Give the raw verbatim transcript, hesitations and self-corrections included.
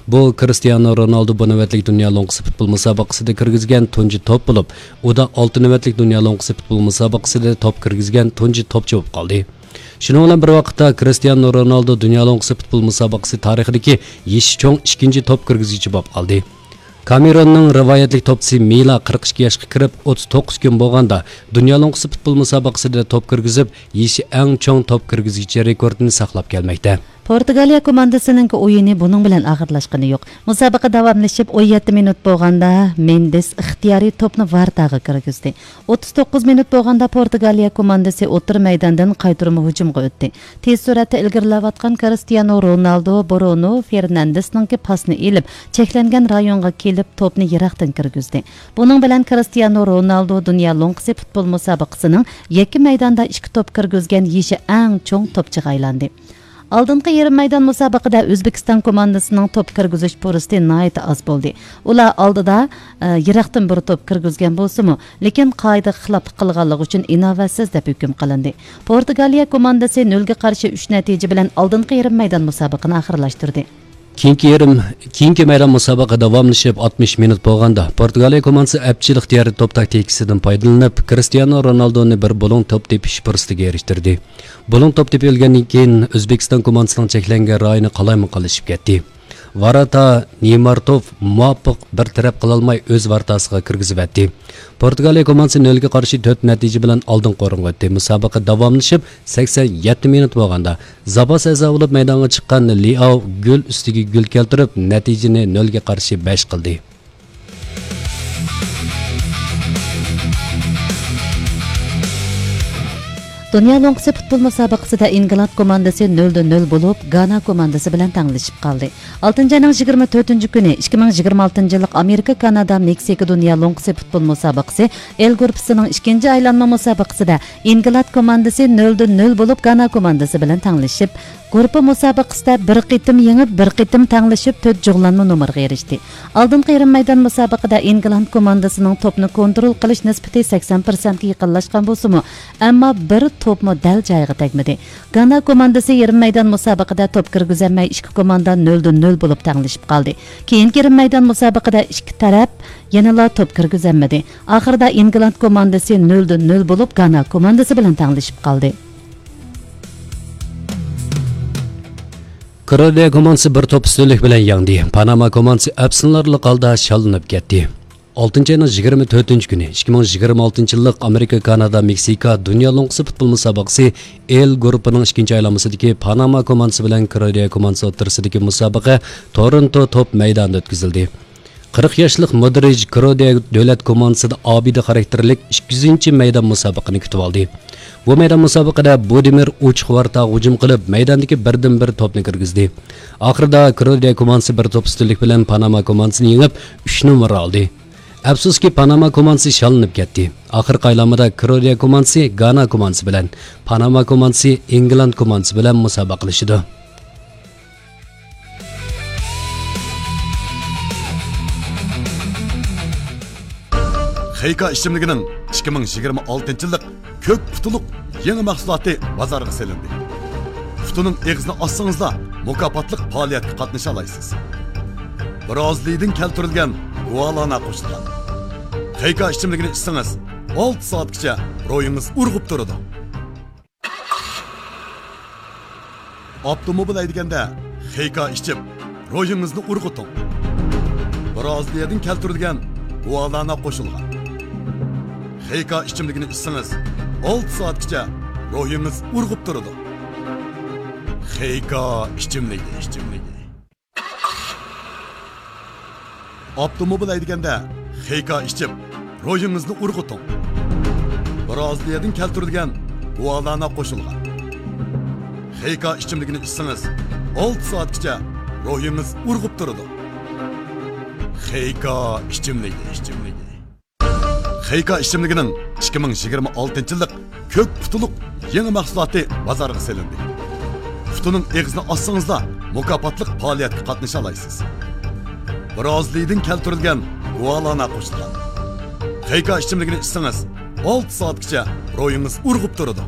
بۇ كرىستىيانو رونالدو بۇ نۆۋەتلىك دۇنيا لوڭقىسى پۇتبول مۇسابىقىسىدە كىرگۈزگەن تۇنجى توپ بولۇپ، ئۇدا ئالتە نۆۋەتلىك دۇنيا لوڭقىسى پۇتبول مۇسابىقىسىدە توپ كىرگۈزگەن تۇنجى توپچى بولۇپ قالدى. شۇنىڭ بىلەن بىر ۋاقىتتا، كرىستىيانو رونالدو دۇنيا لوڭقىسى پۇتبول مۇسابىقىسى تارىخىدىكى يېشى چوڭ ئىككىنچى توپ كىرگۈزگۈچى بولۇپ قالدى. كامېروننىڭ رىۋايەتلىك توپچىسى مىلا قىرىق ئىككى ياشقا كىرىپ، ئوتتۇز توققۇز كۈن بولغاندا، دۇنيا لوڭقىسى پۇتبول مۇسابىقىسىدە توپ كىرگۈزۈپ، يېشى ئەڭ چوڭ توپ كىرگۈزگۈچى رېكورتىنى ساقلاپ كەلمەكتە. پورتۇگالىيە كوماندىسىنىڭكى ئويۇنى بۇنىڭ بىلەن ئاخىرلاشقىنى يوق. مۇسابىقە داۋاملىشىپ، ئون يەتتە مىنۇت بولغاندا، مېندېس ئىختىيارىي توپنى ۋارتاغا كىرگۈزدى. ئوتتۇز توققۇز مىنۇت بولغاندا، پورتۇگالىيە كوماندىسى ئوتتۇرا مەيداندىن قايتۇرما ھۇجۇمغا ئۆتتى. تېز سۈرئەتتە ئىلگىرىلەۋاتقان كرىستىيانو رونالدو برۇنو فېرناندېسنىڭكى پاسىنى ئېلىپ، چەكلەنگەن رايونغا كېلىپ، توپنى يىراقتىن كىرگۈزدى. بۇنىڭ بىلەن كرىستىيانو رونالدو دۇنيا لوڭقىسى پۇتبول مۇسابىقىسىنىڭ يەككە مەيداندا ئىككى توپ كىرگۈزگەن يېشى ئەڭ چوڭ توپچىغا ئايلاندى. ئالدىنقى يېرىم مەيدان مۇسابىقىدە ئۆزبېكىستان كوماندىسىنىڭ توپ كىرگۈزۈش پۇرسىتى ناھايىتى ئاز بولدى. ئۇلار ئالدىدا، ئە، يىراقتىن بىر توپ كىرگۈزگەن بولسىمۇ، لېكىن قائىدىگە خىلاپلىق قىلغانلىقى ئۈچۈن ئىناۋەتسىز دەپ ھۆكۈم قىلىندى. پورتۇگالىيە كوماندىسى نۆلگە قارشى ئۈچ نەتىجە بىلەن ئالدىنقى يېرىم مەيدان مۇسابىقىنى ئاخىرلاشتۇردى. كېيىنكى يېرىم، كېيىنكى مەيدان مۇسابىقە داۋاملىشىپ، ئاتمىش مىنۇت بولغاندا، پورتۇگالىيە كوماندىسى ئەپچىل ئىختىيارىي توپ تاكتىكىسىدىن پايدىلىنىپ، كرىستىيانو رونالدونى بىر بۇلۇڭ توپ تېپىش پۇرسىتىگە ئېرىشتۈردى. بۇلۇڭ توپ تېپىۋالغاندىن كېيىن، ئۆزبېكىستان كوماندىسىنىڭ چەكلەنگەن رايونى قالايمىقانلىشىپ كەتتى. ۋاراتا نېمارتوف مۇۋاپىق بىر تەرەپ قىلالماي، ئۆز ۋارتاسىغا كىرگۈزۈۋەتتى. پورتۇگالىيە كوماندىسى نۆلگە قارشى تۆت نەتىجە بىلەن ئالدىنقى ئورۇنغا ئۆتتى. مۇسابىقە داۋاملىشىپ، سەكسەن يەتتە مىنۇت بولغاندا، زاپاس ئەزا بولۇپ مەيدانغا چىققان لياۋ گول ئۈستىگە گول كەلتۈرۈپ، نەتىجىنى نۆلگە قارشى بەش قىلدى. دۇنيا لوڭقىسى پۇتبول مۇسابىقىسىدە ئىنگلاند كوماندىسى نۆلدە نۆل بولۇپ، گانا كوماندىسى بىلەن تەڭلىشىپ قالدى. ئالتىنچى ئاينىڭ يىگىرمە تۆتىنچى كۈنى ئىككى مىڭ يىگىرمە ئالتىنچى يىللىق ئامېرىكا، كانادا، مېكسىكا دۇنيا لوڭقىسى پۇتبول مۇسابىقىسى ئېل گۇرۇپپىسىنىڭ ئىككىنچى ئايلانما مۇسابىقىسىدە ئىنگلاند كوماندىسى نۆلدە نۆل بولۇپ، گانا كوماندىسى بىلەن تەڭلىشىپ، گۇرۇپپا مۇسابىقىسىدە بىر قېتىم يېڭىپ، بىر قېتىم تەڭلىشىپ، تۆت جۇغلانما نومۇرغا ئېرىشتى. ئالدىنقى يېرىم مەيدان مۇسابىقىدە ئىنگلاند كوماندىسىنىڭ توپنى كونترول قىلىش نىسبىتى سەكسەن پىرسەنتكە يېقىنلاشقان بولسىمۇ، ئەمما بىر توپمۇ دەل جايىغا تەگمىدى. گانا كوماندىسى يېرىم مەيدان مۇسابىقىدە توپ كىرگۈزەلمەي، ئىككى كوماندا نۆلدە نۆل بولۇپ تەڭلىشىپ قالدى. كېيىنكى يېرىم مەيدان مۇسابىقىدە ئىككى تەرەپ يەنىلا توپ كىرگۈزەلمىدى. ئاخىرىدا ئىنگلاند كوماندىسى نۆلدە نۆل بولۇپ، گانا كوماندىسى بىلەن تەڭلىشىپ قالدى. كرودىيە كوماندىسى بىر توپ ئۈستۈنلۈك بىلەن يەڭدى. پاناما كوماندىسى ئەپسۇسلىنارلىق ھالدا شاللىنىپ كەتتى. ئالتىنچى ئاينىڭ يىگىرمە تۆتىنچى كۈنى، ئىككى مىڭ يىگىرمە ئالتىنچى يىللىق ئامېرىكا، كانادا، مېكسىكا دۇنيا لوڭقىسى پۇتبول مۇسابىقىسى ئېل گۇرۇپپىنىڭ ئىككىنچى ئايلانمىسىدىكى پاناما كوماندىسى بىلەن كرودىيە كوماندىسى ئوتتۇرىسىدىكى مۇسابىقە تورونتو توپ مەيدانىدا ئۆتكۈزۈلدى. قىرىق ياشلىق مودرىچ كرودىيە دۆلەت كوماندىسىدا ئابىدە خاراكتېرلىك ئىككى يۈزىنچى مەيدان مۇسابىقىنى كۈتۈۋالدى. بۇ مەيدان مۇسابىقىدە بۇدىمىر ئوچۇق ۋارتاغا ھۇجۇم قىلىپ، مەيداندىكى بىردىنبىر توپنى كىرگۈزدى. ئاخىرىدا كرودىيە كوماندىسى بىر توپ ئۈستۈنلۈك بىلەن پاناما كوماندىسىنى يېڭىپ، ئۈچ نومۇر ئالدى. ئەپسۇسكى، پاناما كوماندىسى شاللىنىپ كەتتى. ئاخىرقى ئايلانمىدا كرودىيە كوماندىسى گانا كوماندىسى بىلەن، پاناما كوماندىسى ئىنگلاند كوماندىسى بىلەن مۇسابىقىلىشىدۇ. خېيكا ئىچىملىكىنىڭ ئىككى مىڭ يىگىرمە ئالتىنچى يىللىق كۆك پۇتىلىق يېڭى مەھسۇلاتى بازارغا سېلىندى. پۇتىنىڭ ئېغىزىنى ئاچسىڭىزلا، مۇكاپاتلىق پائالىيەتكە قاتنىشالايسىز. برازىلىيىدىن كەلتۈرۈلگەن گۇالانا قوشۇلغان خېيكا ئىچىملىكىنى ئىچسىڭىز، ئالتە سائەتكىچە روھىڭىز ئۇرغۇپ تۇرىدۇ. ئاپتوموبىل ھەيدىگەندە خېيكا ئىچىپ، روھىڭىزنى ئۇرغۇتۇڭ. برازىلىيەدىن كەلتۈرۈلگەن گۇالانا قوشۇلغان خېيكا ئىچىملىكىنى ئىچسىڭىز، ئالتە سائەتكىچە روھىڭىز ئۇرغۇپ تۇرىدۇ. خېيكا ئىچىملىكى، ئىچىملىكى. ئاپتوموبىل ھەيدىگەندە خېيكا ئىچىپ، روھىڭىزنى ئۇرغۇتۇڭ. برازىلىيەدىن كەلتۈرۈلگەن گۇالانا قوشۇلغان خېيكا ئىچىملىكىنى ئىچسىڭىز، ئالتە سائەتكىچە روھىڭىز ئۇرغۇپ تۇرىدۇ. خېيكا ئىچىملىكى، ئىچىملىكى. خېيكا ئىچىملىكىنىڭ ئىككى مىڭ يىگىرمە ئالتىنچى يىللىق كۆك پۇتىلىق يېڭى مەھسۇلاتى بازارغا سېلىندى. پۇتىنىڭ ئېغىزىنى ئاچسىڭىزلا، مۇكاپاتلىق پائالىيەتكە قاتنىشالايسىز. برازىلىيىدىن كەلتۈرۈلگەن گۇالانا قوشۇلغان خېيكا ئىچىملىكىنى ئىچسىڭىز، ئالتە سائەتكىچە روھىڭىز ئۇرغۇپ تۇرىدۇ.